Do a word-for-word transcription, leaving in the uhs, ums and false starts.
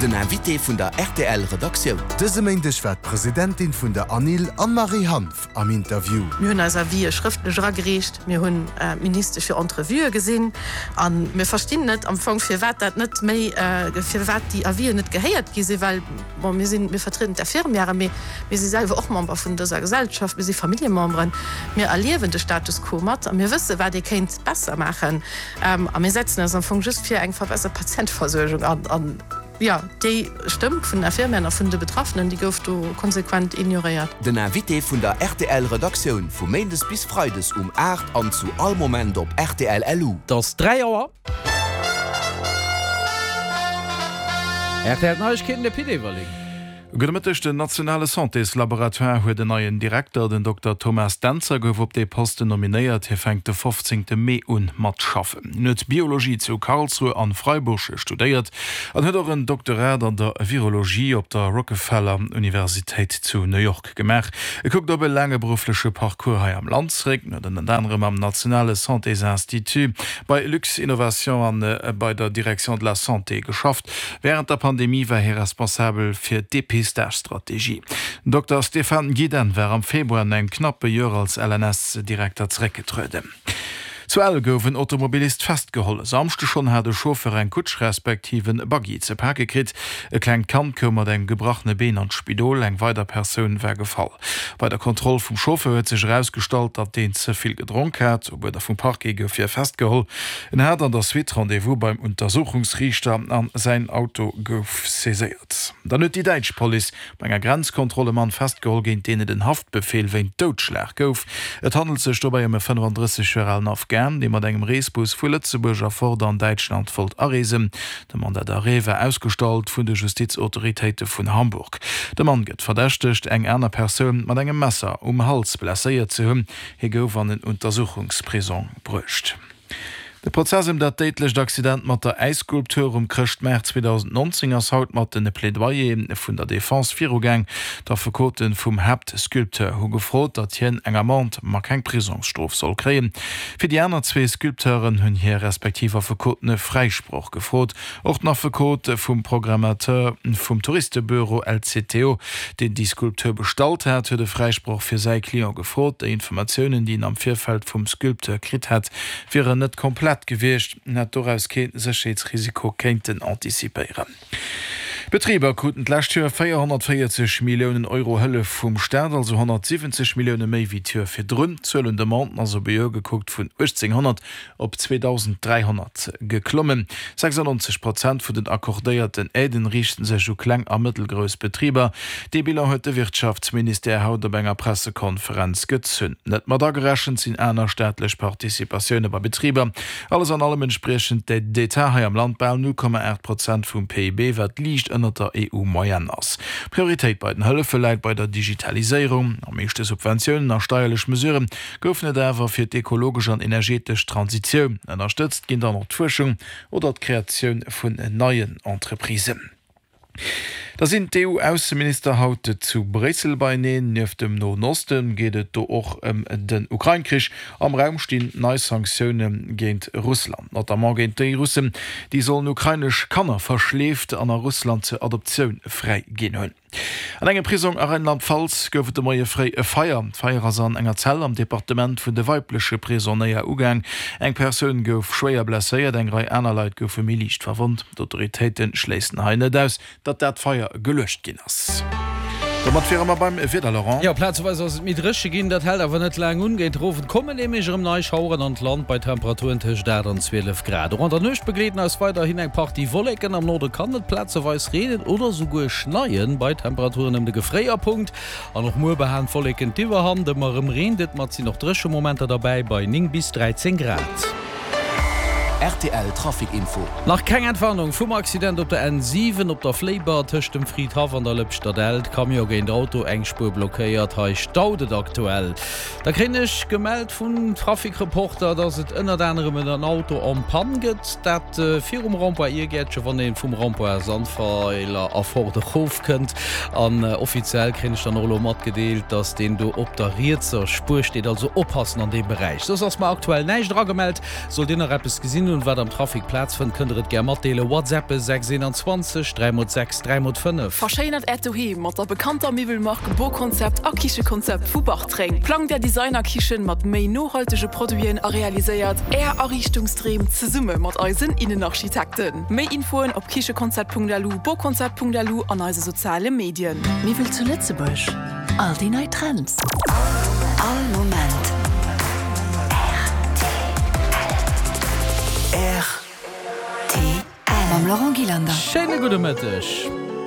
Den Invité vun der rtl Redaktioun. Dëse Méindeg war d'Presidentin vun der ANIL, Anne-Marie Hanff, am Interview. Mir hunn eis Avisë schrëftlech eragereecht, mir hunn d'Ministesch fir Entrevuë gesinn a mir verstinn net am Fong, firwat dat net méi, firwat déi Avisen net gehéiert gi sinn, well, bon, mir sinn, mir vertrieden d'Infirmièren, mee mir si selwer och Member vun dëser Gesellschaft, mir si Familljememberen, mir erliewen de Status quo mat a mir wësse wat ee kéint besser maachen a mir setzen eis am Fong just fir eng verbessert Patienteversuergung an. An jo, déi Stëmm vun den Infirmieren a vun de Betraffenen, déi gouf do konsequent ignoréiert. Den Invité vun der rtl Redaktioun vu Méindes bis Freides um aacht an zu all Moment op rtl LU. Et ass dräi Auer. Rtl Neiegkeeten, de Pit Everling. Gudde Mëtteg, Den nationale Santéslaboratoire huet en neien Direkter. Den Dokter Thomas Dentzer gouf op dee Posten nominéiert. Hie fänkt de fofzéngte Mee un mat schaffen. Hien huet Biologie zu Karlsruhe an Freiburg studéiert an huet och en Doktorat an der Virologie op der Rockefeller Universitéit zu New York gemaach. E kuckt op e laange beruffleche Parcours hei am Land zeréck. En huet ënnert anerem am nationale Santésinstitut, bei Luxinnovation an bei der Direction de la Santé geschafft. Wärend der Pandemie war hie responsabel fir d'Depistage-Strategie. Den Dokter Stéphane Gidenne war am Februar no engem knappe Joer als L N S-Direkter zeréckgetrueden. Zu Ell gouf en Automobilist festgeholl. E Samschde schonn hat e Chauffeur eng Kutsch respektiv en Buggy ze pake kritt. E klengt Kand koum mat engem gebrachene Been an d'Spidol, eng weider Persoun war gefall. Bei der Kontroll vum Chauffeur huet sech erausgestallt, datt deen ze vill gedronk hat. Op Uerder vum Parquet gouf hie festgeholl. En hat an der Suite Rendez-vous beim Untersuchungsriichter an säin Auto gouf saiséiert. Dann huet déi däitsch Police bei enger Grenzkontroll e Mann festgeholl, géint deen et en Haftbefeel wéint Doudschlag gouf. Et handelt sech dobäi ëm e fënnefandrësseg Joer alen Afghan, dee mat engem Reesbus vu Lëtzebuerg erfort an Däitschland wollt areesen. De Mandat d'arrêt war ausgestallt vun de Justizautoritéite vun Hamburg. De Mann gëtt verdächtegt, eng aner Persoun mat engem Messer um Hals blesséiert ze hunn. Hie gouf an en Untersuchungsprisong bruecht. De Prozess ëm dat déidlecht Accident mat der Äisskulptur um Chrëschtmaart zweedausendnonzéng ass haut mat de Plädoyere vun der Defense virugaang. D'Affekote vum Haaptsculpteur hu gefrot, datt hien eng Amende, ma keng Prisongsstrof soll kréien. Fir déi aner zwee Sculpteuren hunn hir respektiv Affekoten e Fräisproch gefrot. Och den Affekot vum Programmateur vum Touristebüro L C T O, deen déi Skulptur bestallt hat, huet e Fräisproch fir säi Client gefrot. Déi Informatiounen, déi en am Virfeld vum Sculpteur kritt hätt, wieren net komplett gewiescht, en hätt doraus kee Sécherheetsrisiko kéinten antizipéieren. D'Betriber kruten d'lescht Joer véierhonnertvéierzeg Milliounen Euro Hëllef vum Staat, also honnertsiwwenzeg Millioune méi wéi d'Joer virdrun. D'Zuel un Demanden ass op e Joer gekuckt vun uechtzénghonnert op zweedausend dräihonnert geklommen. sechsannonzeg Prozent vun den accordéierten Aiden riichte sech u kleng a mëttelgrouss Betriber. Dee Bilan huet de Wirtschaftsministère haut op enger Pressekonferenz gezunn. Net mat agerechent sinn aner staatlech Participatioune bei Betriber. Alles an allem entspriechen d'Aides d'État hei am Land bal null Komma aacht Prozent vum P I B, wat liicht ënnert der E U-Moyenne ass. Prioritéit bei den Hëllefe läit bei der Digitaliséierung. Am meeschte Subventiounen a steierlech Mesurë goufen et awer fir d'ekologesch an energetesch Transitioun. Ënnerstëtzt ginn dann och d'Fuerschung oder d'Kreatioun vun neien Entreprisen. Da sinn d'E U-Ausseminister haut zu Bréissel beieneen. Nieft dem Noen Oste geet et do och ëm den Ukrain-Krich. Am Raum stinn nei Sanktioune géint Russland, notamment géint déi Russen, déi sollen ukrainesch Kanner verschleeft an a Russland zur Adoptioun fräi ginn hunn. An engem Prisong a Rheinland-Pfalz gouf et de Moie fréi e Feier. D'Feier ass an enger Zell am Departement vun de weibleche Prisonéier ugaang. Eng Persoun gouf schwéier blesséiert, eng Rei aner Leit goufe méi liicht verwonnt. D'autoritéite schléissen hei net aus, datt dat Feier geluecht ginn ass. Domat wiere mer beim Wieder, Laurent. Jo, plazeweis ass et méi dréche ginn, dat hält awer net laang un. Géint den Owend kommen nämlech erëm nei Schaueren an d'Land bei Temperaturen tëscht aacht an zwielef Grad. Och an der Nuecht begleeden eis weiderhin eng Partie Wolleken, am Norde kann et plazeweis reenen oder souguer schneien, bei Temperaturen ëm de Gefréierpunkt. An och muer behalen d'Wolleken d'Iwwerhand, ëmmer erëm reent et, ma et sinn och dréche Momenter derbäi bei néng bis dräizéng Grad. Rtl Trafic Info. Nach keng Entwarnung vum Accident op der N siwen op der Fléiber tëscht dem Fridhaff an der Lëpschterdellt. Camion géint Auto, eng Spuer blockéiert, hei staut et aktuell. Da kréien ech gemellt vum Trafic-Reporter, dass et ënnert anerem en Auto en panne gëtt, dat virum Rond-point Iergäertche, wann ee vum Rond-point Sandweiler erfort erofkënnt. An offiziell kréien ech dann och elo matgedeelt, dass deen do op der rietser Spuer steet, also oppassen an deem Beräich. Soss ass mer aktuell näischt eragemellt. Sollt Dir nach eppes gesinn hunn, hunn, wat am Trafic Plaz fënnt, kënnt der et gär matdeelen. WhatsAppe sechs einundzwanzeg dräi mol sechs dräi mol fënnef. Verschéinert Äert Doheem mat der bekannter Miwwelmark Boconcept a Kichekonzept vu Bartreng. Plangt Är Designer-Kichen mat méi nohaltege Produiten a realiséiert Är Ariichtungsdreem zesumme mat eisen Innenarchitekten. Méi Infoen op kichekonzept.lu, boconcept.lu an eise soziale Medien. Miwwel zu Lëtzebuerg, all déi nei Trends. All Moment rtl. Mam Laurent Gillander. Schéine gudde Mëtteg.